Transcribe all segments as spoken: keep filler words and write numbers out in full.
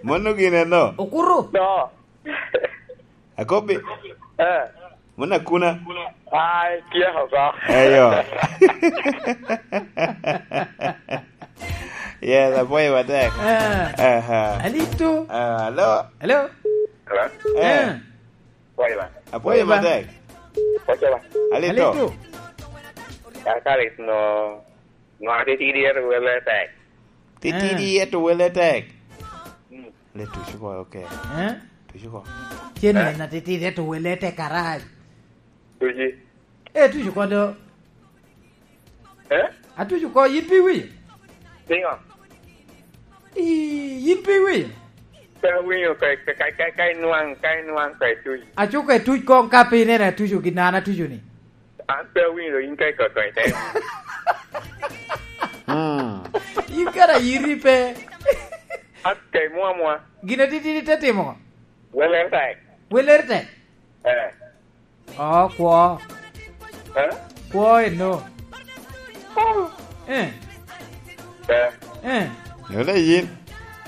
Mono gin eno. Okuru. No. Akobbi. Eh. Mono akuna. Ai, tyeko oko. Eyo. Yes, apwoyo matek. Eh. Aha. Alito. Ah, hello. Hello. Hello? Eh. Eh. Apwoyo ba. Apwoyo matek. Apwoyo ba. Alito. Alito. Kakalis no, no atitidi ento wele tek. Titidi, eh, ento wele tek. Mm. Le tuco ko, okay. Eh? Tuco ko. Cen, eh, en atitidi ento wele tek arac. Tuci. Eh, tuco ko do. Eh? Atuco ko, yin pe iwinyo? Niŋo? Ii, yin pe iwinyo? Pe awinyo, ka, ka, ka, ka, ka inwaŋ, ka inwaŋ, ka ituc. Aco ka ituc koŋ ka pe ineno atuco gin an atuco ni. An pe awinyo, in ka ikoko ite. Mm. Yin kara iri pe. An ka imwomwa. Gin atitidi te timo. Weler tek. Weler tek? Eh. Oh, kwo. Eh? Kwo eno. Oh. Eh. Eh. Eh. Yole yin.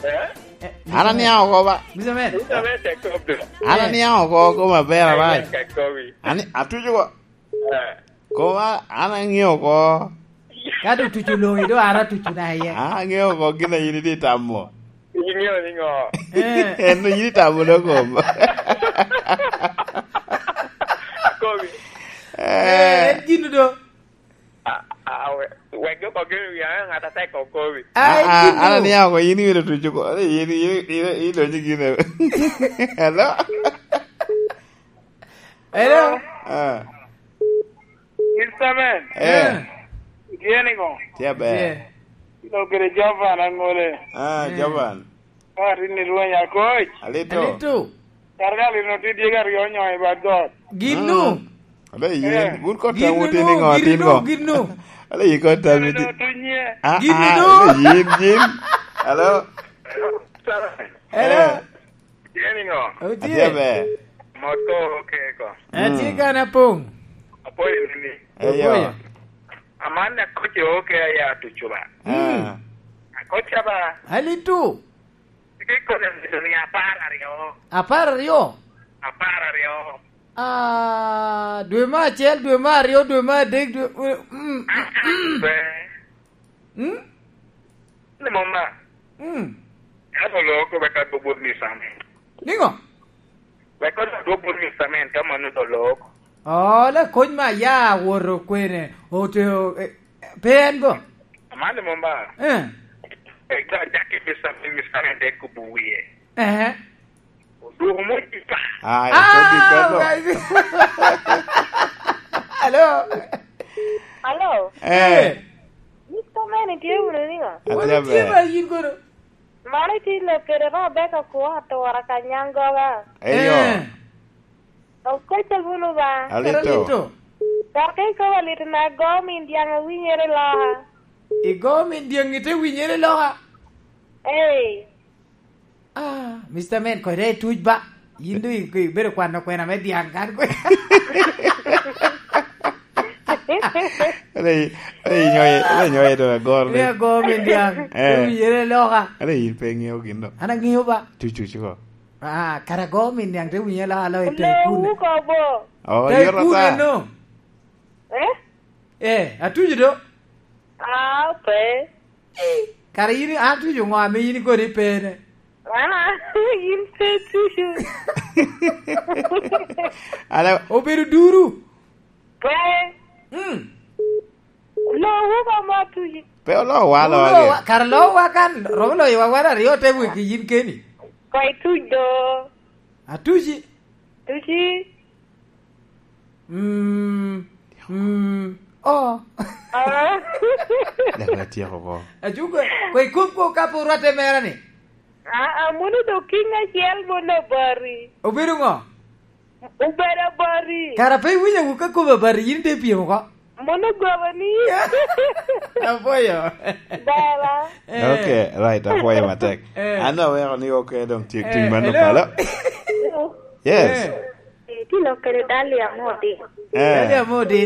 Eh? Eh, an aniaŋ oko ba. Mister Man. Mister Man, te kop do. An, eh, aniaŋ oko, oko maber arac. Te kop i. Ani, atuco ko. Eh. Koma, an aŋeo oko. Ka doŋ tuco loŋi, doŋ an atuco na iye. An aŋeo oko gin a yin itye tamo. Iŋeo niŋo? Eh. En yin itamo do kom. Komi. Eh. Eh, en gin do. A, a, we-, wek jo kok gin wi, an ŋat atek kok komi. Ah, ah, gin an do. Aniaŋ oko, yin iwilo tuco ko. Yin, yin, yin, yin idonyo gin. Hello? Hello? Ah. Mister Man. Eh. Eh. Itye niŋo? Tye aber. Tye. Ilo kede Jovan aŋole. Ah, eh. Jovan. Ka atin i rweny akoc. Alito. Alito. Kara ka lino tye dyegi aryo onyo i bad got. Gin nu? Mm. Ale yin, eh, wun kota wun tye niŋo, gin nu, tin nu, go? Gin nu? Ale yin kota mi ti-, ah, gin ah, nu? Ale yin, yin. Hello? Hello? Eh. Tye niŋo? Otye. Atye aber. Mot ko oke ko. Atye, mm, kan apoŋ. Apoyo nini? Eyo. Apoyo. Aman akoc oke aya tuco ba. Ah. Mm. Akoc ba. Alito. Tye kone ni apar aryo. Apar aryo? Apar aryo. Ah, dwe me acel, dwe me aryo, dwe me adek, dwe, mm, mm, mm. Be. Mm? Ni mom ba? Mm. Ka dolo ko wek adwog bot Mister Man. Niŋo? Wek odwog bot Mister Man, ka mano dolo ko. Oh, le kony ma ya woto kwene, ote-, o-, eh, pe en go? Aman ni mom ba? Eh. Wek dok acakke Mister Man, Mister Man te kubo wie. Eh. Odwogo mot i pa. Ai, ah, kodi kono. Hello. Hello. Eh. Mister Man, itye wunu niŋo? Atye aber. Wan itye ba yin kono. Mano itye lok kede Rebecca Kuo atura ka Nyangoga. Eyo. Eh. Okocca wunu ba. Alito. Alito. Dok ikobo lit na go min dyaŋ awinyere loka. Igo min dyaŋ ite winyere loka? Ee. Ah, Mister Man, kode i tuc ba. Yin doŋ i-, ibedo kwano kwena me dyaŋ kan kwe. Ade i-, ade inyoye, ade inyoye doŋ agor ni. Ni agor min dyaŋ. Eh. Te winyere loka. Ade yin pe iŋeo gin doŋ. An aŋeo ba. Tuc, tuc ko. Ah, kara agor min dyaŋ te winyere loka, alo ite kun. Lewu kobo. Oh, te yot kun ata. Eno. Eh? Eh, atuc do. Ah, pe. Kara yin, an tuco ŋo ame yin kodi pene? Ah, yin pe tuco. Ala obedo duru. Pe. Mm. Lowu ka ma tuci. Pe olowa, olowa. Olowa, kara lowa kan, romo loyo wa wan aryo te weki yin keni. Koi tuc do. Atuci. Tuci. Mm, mm, oh. Ah. Dok atyeko oko. Acuko, kwe kop ko ka pe orwatte mera ni. Ah, ah, mono dok king acel mono abati. Obedo ŋo? Obedo abati. Kara pe iwinyo wu ka kobo abati, yin te pyem oko. Mono goba ni. Apwoyo. Bala. Eh. Okay, right, apwoyo matek. Eh. An aweko ni oke dong tyek, eh, ting man, hello? Okalo. Yes. Eh. Eh, ti lok kede Dalia Modi. Eh. Dalia Modi.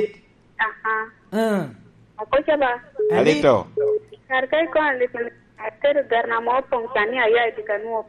Aha. Eh. Akoca ba. Alito. Kar ka ikono lit, atedo garna mo poŋ cani aya i dika nwo.